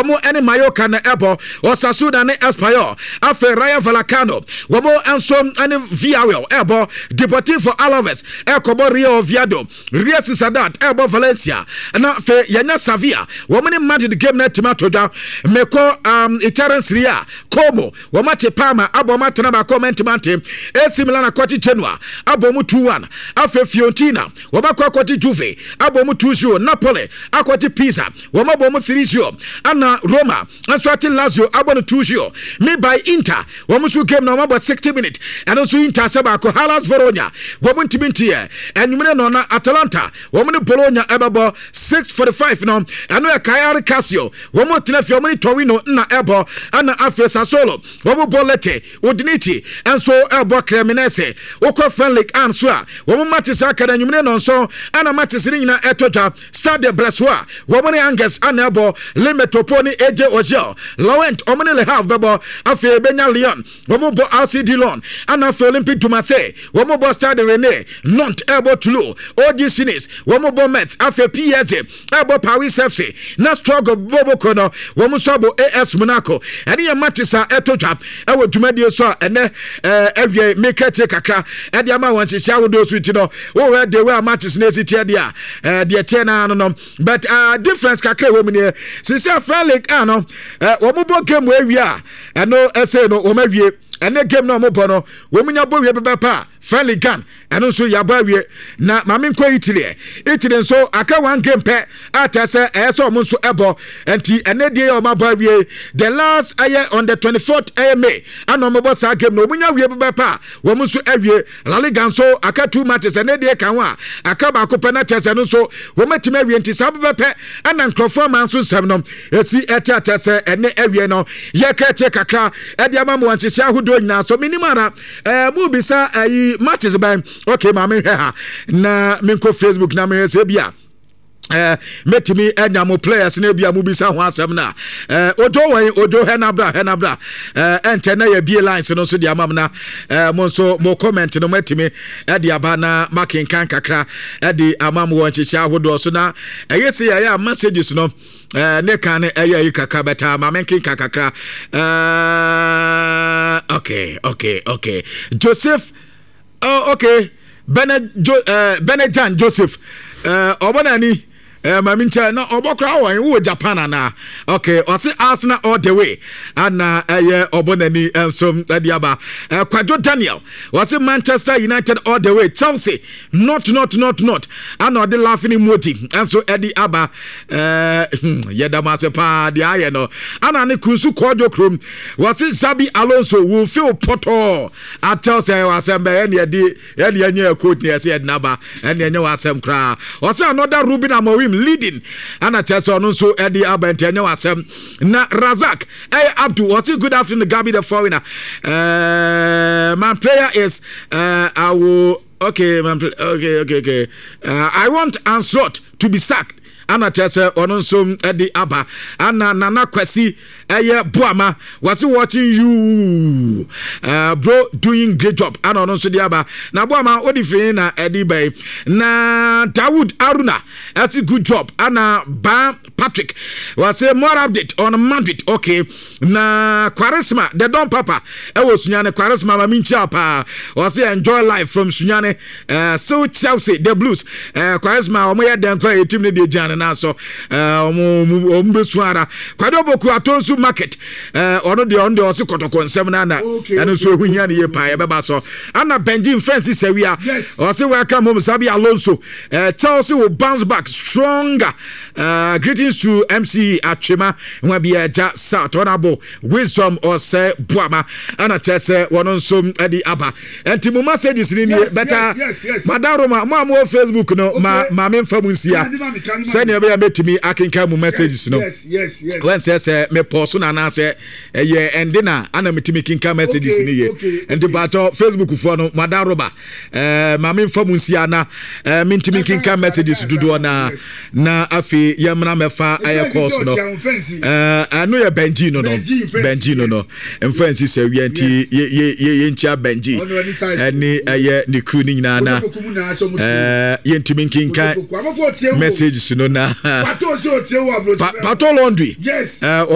Wɔn ne Mallorca na ɛbɔ, Osasuna ne Espanyol, afei Rayo Vallecano wɔn nso ne Villarreal ɛbɔ, Deportivo Alaves ɛkɔbɔ Real Oviedo, Real Sociedad ɛbɔ Valencia, na afei yɛnya Sevilla wɔn ne Madrid game no atumi ato dwa. Mekɔ Italian Serie A, Como wɔn ate Parma abɔ wɔn atena baako wɔn antumi ante, AC Milan akɔte Genoa abɔ wɔn 2-1, afei Fiorentina wɔn akɔ akɔte Juve abɔ wɔn 2-0, Napoli akɔte Pisa Wɔn abɔ wɔn 3-0 ɛna Roma nso ate Lazio abɔ no 2-0. Me by Inter wɔn nso game na wɔn abɔ 60 minutes ɛno nso Inter ahyɛ baako. Hellas Verona wɔn ntumi nteɛ. Anwummerɛ no na Atalanta wɔn ne Bologna ɛbɛbɔ 6:45 no ɛno yɛ Cagliari Calcio wɔn tena fie wɔn ne Torino na ɛbɔ ɛna afei Sassuolo wɔn bɔ Lecce. Udinese nso ɛbɔ Cremonese. Wokɔ French Ligue 1 nso a wɔn matches aka no anwummerɛ nnɔnson ɛna matches no nyinaa ɛtɔ dwa. Stade Brestois, wɔn ne Angers na ɛbɔ, Le Metropole ne AJ Auxerre, Lorient wɔn ne Le Havre bɛbɔ, afei ebenya Lyon wɔn bɔ RC Dillon, ɛna afei Olympique de Marseille wɔn bɔ Stade Rennais, Nantes ɛrebɔ Toulouse, OGC Nice wɔn bɔ Metz, afei PSG ɛrebɔ Paris FC, na Strasbourg bɔbɔkuo no wɔn nso abɔ AS Monaco. Ɛne yɛn matches a ɛtɔ dwa ɛwɔ dwumadie so a ɛnɛ ɛɛ awie meka akyire kakra ɛde ama wɔn nhyehyɛ ahodoɔ so nti no wohwɛ the way a matches no esi teɛ deɛ a deɛ teɛ naa no no but difference kakra ɛwɔ mu nie sisi afra league a no wɔn bɔ game wɔ awie a ɛno ɛsɛ no wɔn awie ɛne game na wɔn bɔ no wɔn nya bɔ wie pɛpɛpɛ a friendly gun ɛno nso yɛabɔ awie na maame nkɔ Italy ɛ Italy nso aka one game pɛ a kyerɛ sɛ ɛyɛ sɛ wɔn nso ɛbɔ nti ɛnɛ deɛ yɛ wɔn abɔ awie the last ɛyɛ on the 24th ɛyɛ May ɛna wɔn bɔ saa game no wɔn nya wie pɛpɛpɛ a wɔn nso awie La Liga nso aka two matches ɛnɛ deɛ ka ho a aka baako pɛ na kyerɛ sɛ no nso wɔmatumi awie nti saa pɛpɛpɛ ɛna nkurɔfoɔ ama nso nsɛm no ɛsi ɛte akyɛ sɛ ɛnɛ awie no yɛka akyire kakra ɛde ama mo nhyehyɛ ahodoɔ nyinaa so menim ara ɛɛ mo bisa ɛyi matches bɛn okay maame hwɛ ha na menkɔ Facebook na mehwɛ sɛ bi a mɛtumi anya mo players no bi a mobisa ho asɛm no a odo wɔn odo hɛ nabra hɛ nabra ɛnkyɛ na yɛbie lines no nso de ama m na mo nso mo comment no moatumi de aba na makenkan kakra de ama mo wɔ nhyehyɛ ahodoɔ so na ɛyɛ sɛ yɛyɛ a messages no ne kan no ɛyɛ yi kakra bɛtaa ma menkenka kakra okay okay okay Joseph. Oh, okay. Bene jo eh, Bene Jan Joseph. Eh, ɔbɔ n'ani. Eh, maame nkyɛn na ɔbɔ koraa wɔ wɔ Japan anaa? Okay, ɔse Arsenal all the way. Ana ɛyɛ ɔbɔ n'ani nso ɛde aba. Eh, Kwadwo Daniel. Ɔse Manchester United all the way. Chelsea not not not not. Ana ɔde laughing emoji nso ɛde aba. Eh, yɛda mo ase paa deɛ ayɛ no. Ana ne kunsu kɔɔdwo kurom. Wɔse Xabi Alonso will feel pɔtɔɔ. Akyɛw sɛ ɛyɛ w'asɛm bɛ ɛne ɛde ɛne ɛnyɛ yɛ coach ne ɛsɛ yɛde n'aba ɛne ɛnyɛ w'asɛm koraa ɔsɛ another Ruben Amorim leading ɛna kyerɛ sɛ ɔno nso ɛde aba nti ɛnyɛ w'asɛm na Razak ɛyɛ Abdu ɔsɛ good afternoon Gabi the foreigner my prayer is I will okay my, okay I want Ancelotti to be sacked Ana kyerɛ sɛ ɔno nso de aba. Ana Nana Kwasi ɛyɛ Boama wɔse watching you bro doing great job. Ana ɔno nso de aba. Na Boama wode firi na ɛde ba yi. Na Dawood Aruna ɛse good job. Ana Ba Patrick wɔse more update on Madrid. Okay. Na Kwaresma the Don Papa ɛwɔ Sunyane. Kwaresma ma menkyia paa. Wɔse enjoy life from Sunyane. Still Chelsea the Blues Kwaresma wɔn yɛ dɛn koraa yɛ team no deɛ gyina ne nan so wɔn bɛsu ara. Kwado Boku Atonsu Market ɔno deɛ ɔse kɔtɔkɔ nsɛm no ana ɛno nso ɛho hia ne yie paa yɛbɛba so. Ana Benji Francis Sawia ɔse welcome home Xabi Alonso Chelsea will bounce back stronger. Greetings to MC Atwema Nwabiagya South Honorable Wisdom Ɔsɛ Boama ɛna kyerɛ sɛ wɔn nso de aba nti mo messages ni nie bɛta madam Roma mo a mo wɔ Facebook no ma ma me nfa mu nsia sɛnea ɛbɛyɛ mɛtumi akenkan mo messages no wɔn sɛ sɛ mepɔ so na anaasɛ ɛyɛ ɛnde na ana metumi kenkan messages ni yie nti paatɔ Facebook foɔ no madam Roma ma me nfa mu nsia na mentumi nkenkan messages dodoɔ na na afei yɛmmra mɛfa ayɛ course no ɛno yɛ Benji no Benji no mfa nsi sɛ wia nti yɛnkyia Benji ɛne ɛyɛ ne crew no nyinaa na yɛntumi nkenkan messages no na Pato Laundry.